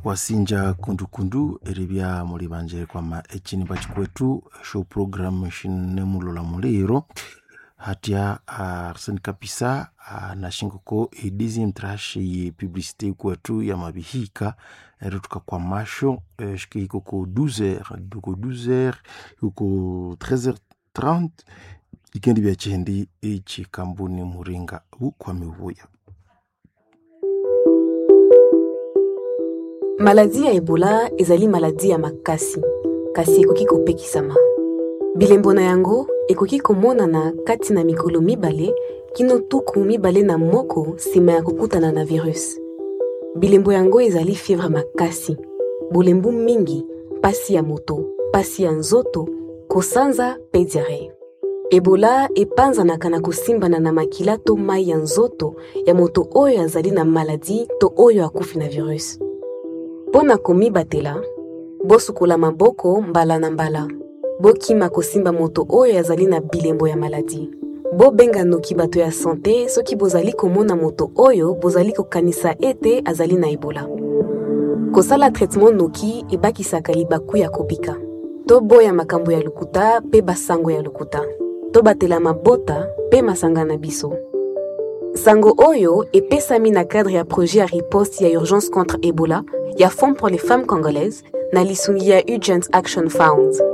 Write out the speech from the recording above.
Wasinja kundukundu eribya muli banje kwama echinimba chikwethu esyo program shinemulola muliro hatya Arsene Kapisa nashingoko edizimu trash ye publicité kwethu yamabihika ero tukakwamasho shikihika oko 12h doko 12h oko 13h30 ikendi byakyendi ekikambuni muringa bukwami buya. Maladi ya Ebola ezali maladi ya makasi, kasi ekoki kopekisama. Bilembo na yango ekoki komonana kati na mikolo 2 kino 21 nsima ya kokutana na virus. Bilembo yango ezali fievre makasi, bolembu mingi, pasi ya moto, pasi ya nzoto, kosanza mpe diarrhée. Ebola epanzanaka na kosimbana na makila to mai ya nzoto ya moto oyo azali na maladi to oyo akufi na virus. Mpo na komibatela, bosukola maboko mbala na mbala. Bokima kosimba moto oyo azali na bilembo ya maladi. Bobenga noki bato ya sante soki bozali komona moto oyo bozali kokanisa ete azali na Ebola. Kosala traitement noki ebakisaka libaku ya kobika. Toboya makambo ya lokuta mpe basango ya lokuta. Tobatela mabota mpe masanga na biso. Sango oyo epesami na cadre ya projet ya riposte ya urgence contre Ebola ya Fonds pour les femmes congolaises na lisungi ya Urgent Action Fund.